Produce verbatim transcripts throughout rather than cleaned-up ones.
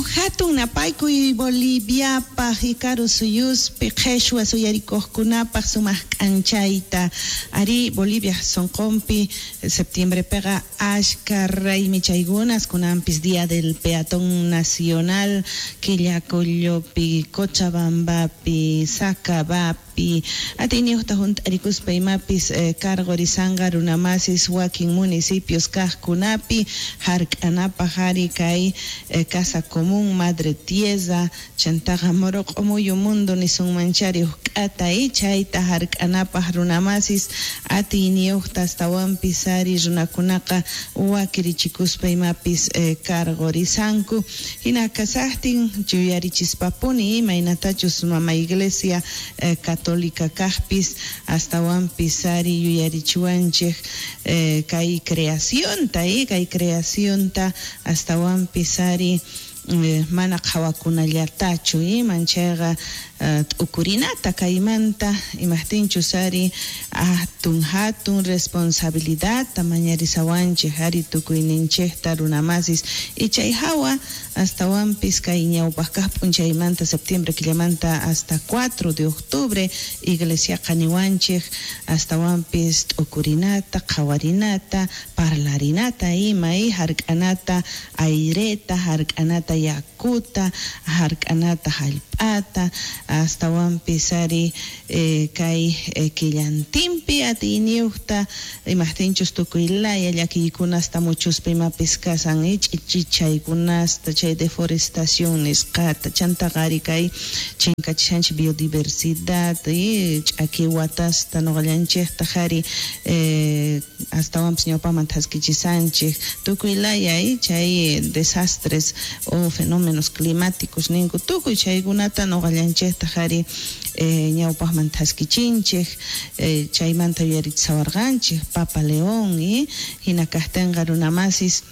Hatun napaykuy Boliviapaj y karu suyuspi qheshwa suyarikuqkunapaj sumaq k'anchayta. Ari Bolivia sonqonpi septiembrepiqa ashka raymi chaykunas kunanpis Día del Peatón Nacional Quillacollopi, Cochabambapi, Sacabapi, atiyniyuqta hunt'arikuspa imapis eh, cargorisanqa runamasis wakin municipios kaqkunapi hark'anapaj ari kay eh, Casa Común Madre Tierra chantaqa Moroq'omuyu mundo nisunmanchari huk k'ata y chayta hark'anapaj runamasis atiyniyuqta astawanpis ari runakunaqa wakirichikuspa imapis eh, cargorisanku hina kasaqtin yuyarichispapuni imaynatachus mama iglesia eh, católica kaqpis astawanpis ari yuyarichiwanchej eh, kay creacionta eh, kay creacionta astawanpis ari eh, mana qhawakunallatachu manchayqa t'ukurinata kaymanta imajtinchus ari hatun hatun responsabilidadta mañarisawanchej ari tukuyninchejta runamasis y chay hawa astawanpis kay ñawpaq kaq p'unchaymanta septiembre killamanta hasta cuatro de octubre iglesiaqa niwanchej astawanpis t'ukurinata qhawarinata parlarinata ima y hark'anata aireta hark'anata yakuta hark'anata hallp'ata astawanpis ari eh, kay eh, killantinpi atiyniyuqta imajtinchus tukuy laya llakiykunasta muchuspa imapis kasan ch'ichichaykunasta chay deforestación nisqata chantaqa ari kay chinkachishanchik biodiversidad y ch'aki watasta nuqallanchikta ari eh, astawanpis ñawpaman thaskichisanchik tukuy laya y chay desastres o fenómenos climáticos ninku tukuy chaykunata nuqallanchikta ari eh, ñawpaqman thaskichinchik eh, chaymanta yuyarichisawarqanchik Papa León y hina kaqtinqa runamasis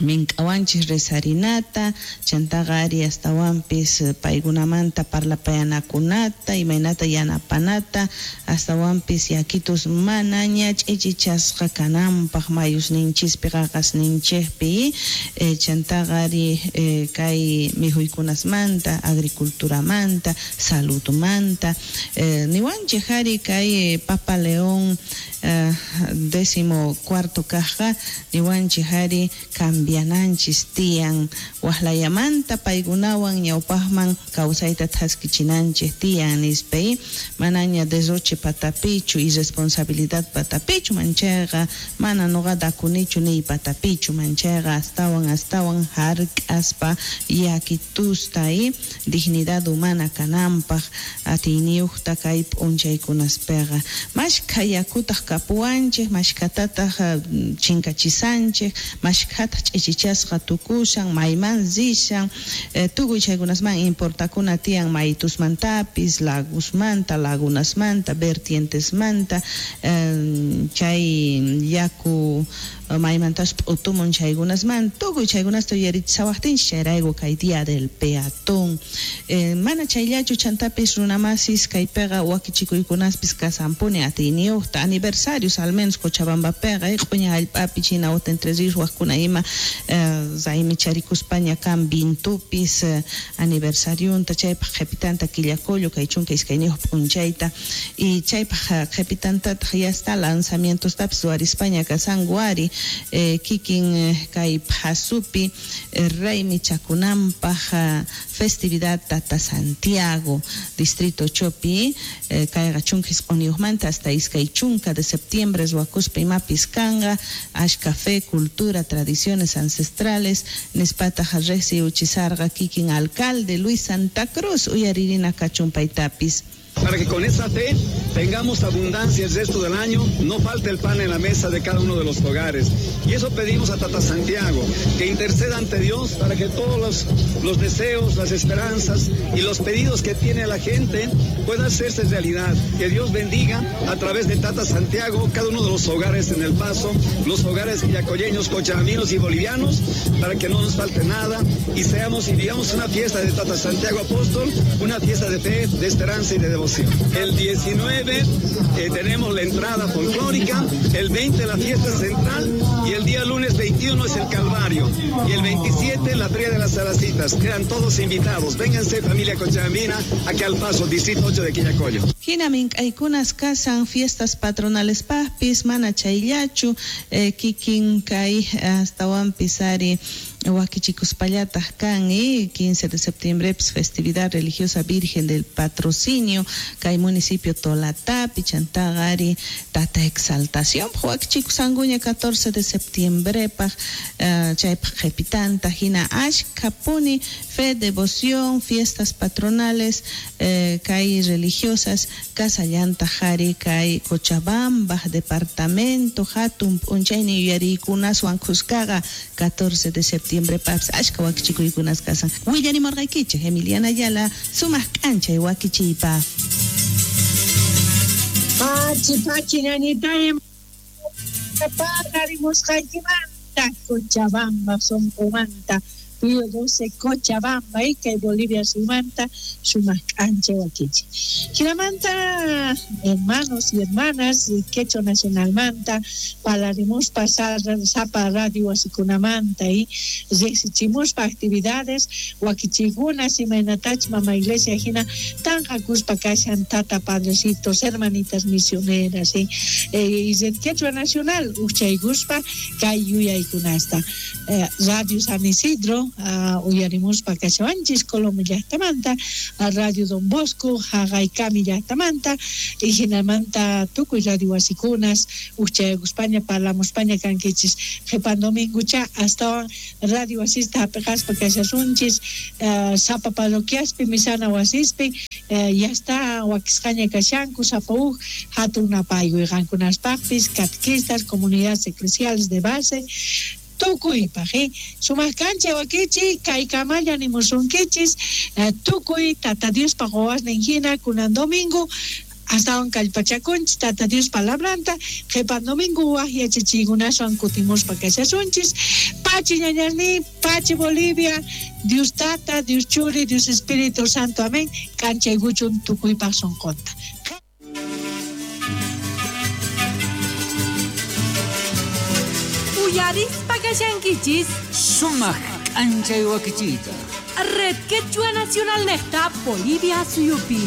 mink'awanchik rezarinata chantaqa ari astawanpis paykunamanta parlapayanakunata imaynata yanapanata astawanpis yakitus manaña ch'ichichasqa kananpaq mayusninchispi qaqasninchikpi eh, chantaqa ari eh, kay mikhuykunasmanta agriculturamanta saludmanta eh, niwanchik ari kay Papa León eh, décimo cuarto kaqqa niwanchik ari cambiananchis tiyan waqlayamanta paykunawan ñawpaqman kawsayta thaskichinanchik tiyan nispa manaña derroche patapichu irresponsabilidad patapichu manchayqa mana nuqa dakunichu niy patapichu manchayqa astawan astawan hark'aspa yakitusta y dignidad humana kananpaq atiyniyuqta kay p'unchaykunaspiqa mashkha yakutaq kapuwanchik mashkhatataq chinkachisanchik mashkhataq ch'ichichasqa tukushan mayman rishan eh, tukuy chaykunasman importakuna tiyan maytusmantapis lagusmanta lagunasmanta vertientesmanta eh, chay yaku maymantas p'utumun chaykunasman tukuy chaykunasta yuyarichisawaqtinchik chayrayku kay Día del Peatón eh, mana chayllachu chantapis runamasis kaypiqa wakichikuykunaspis kasanpuni atiyniyuqta aniversarios al menos Cochabambapiqa q'uña hallp'api China wata Entre Ríos waqkuna ima eh, raymicharikuspalla kan vintupis eh, aniversariunta chaypaq qhipitanta Quillacollo kay chunka iskayniyuq p'unchayta y chaypaq qhipitantataq ya está lanzamientostapis ruwarispaña kasanku ari eh, kikin eh, kay phasupi eh, raymichakunanpaq eh, festividad Tata Santiago distrito Chopi eh, kayqa chunka isq'unniyuqmanta hasta iskay chunka de septiembre ruwakuspa imapis kanqa ashka fe, cultura, tradiciones ancestrales nispataq riqsiy uchisarqa kikin alcalde Luis Santa Cruz uyaririna kachun paytapis. Para que con esa fe tengamos abundancia el resto del año, no falte el pan en la mesa de cada uno de los hogares. Y eso pedimos a Tata Santiago, que interceda ante Dios para que todos los, los deseos, las esperanzas y los pedidos que tiene la gente puedan hacerse realidad. Que Dios bendiga a través de Tata Santiago cada uno de los hogares en El Paso, los hogares quillacolleños, cochabambinos y bolivianos, para que no nos falte nada y seamos y vivamos una fiesta de Tata Santiago Apóstol, una fiesta de fe, de esperanza y de devoción. sacrificio. El diecinueve eh, tenemos la entrada folclórica, el veinte la fiesta central y el día lunes veintiuno es el Calvario y el veintisiete la Feria de las Saracitas. Quedan todos invitados. Vénganse, familia cochabambina, aquí al paso, distrito ocho de Quillacollo. Hina mink'aykunas kasan fiestas patronales pajpis, mana chayllachu, eh, kikin kay astawanpis ari wakichikuspallataq kan, y quince de septiembre pues, festividad religiosa Virgen del Patrocinio kay municipio Tolatapi, chantaqa ari Tata Exaltación wakichikusankuña catorce de septiembre paj uh, chaypaj qhipitanta hina ashkhapuni fe, devoción, fiestas patronales eh, kay religiosas kasallantaq ari kay Cochabamba departamento hatun p'unchaynin yuyariykunaswan khuskaqa catorce de septiembre paps ashka wakichikuykunas kasan. Willarimurqaykichik Emiliana Ayala sumaq k'anchay wakichiypa. Pachi pachi ñañitay paqarimusqaykimanta Cochabamba sunqumanta Pío doce Cochabamba y kay Bolivia sumanta sumaq k'anchay wakichi. Jinamanta hermanos y hermanas Quechua Nacionalmanta palarimuspa sapa radio wasikunamanta y riqsichimuspa actividades wakichikunas imaynatach mama iglesia hina tanqakuspa kashan tata padrecitos hermanitas misioneras y eh, y Quechua Nacional uchaykuspa kay yuyaykunasta eh, Radio San Isidro Uh, uyarimuspa kashawanchis Colombia llaqtamanta, Radio Don Bosco Hagaykami llaqtamanta y hinamanta tukuy radio wasikunas uchaykuspaña parlamuspaña kankichis qhipan domingucha astawan radio wasista hapiqaspa kashasunchis uh, sapa parroquiaspi misana wasispi uh, ya está wakisqaña kashanku sapa uj hatun napaykuy qankunaspaqpis catequistas comunidades eclesiales de base tukuypaq eh? Sumaq kancha wakichi kaykamalla nimusunkichis eh, tukuy Tata Diospaq wawasnin hina kunan domingo astawan kallpachakunchis Tata Dios palabranta qhipan domingo waj yachachiykunaswan kutimuspa kashasunchis pachi ñañasni pachi Bolivia Dios Tata Dios Churi Dios Espíritu Santo amén kanchaykuchun tukuypaq sunqunta. Uyarispa kashankichis sumaq k'anchay wakichiyta Red Quechua Nacional nejta Bolivia suyupi.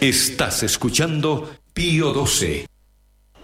Estás escuchando Pío doce.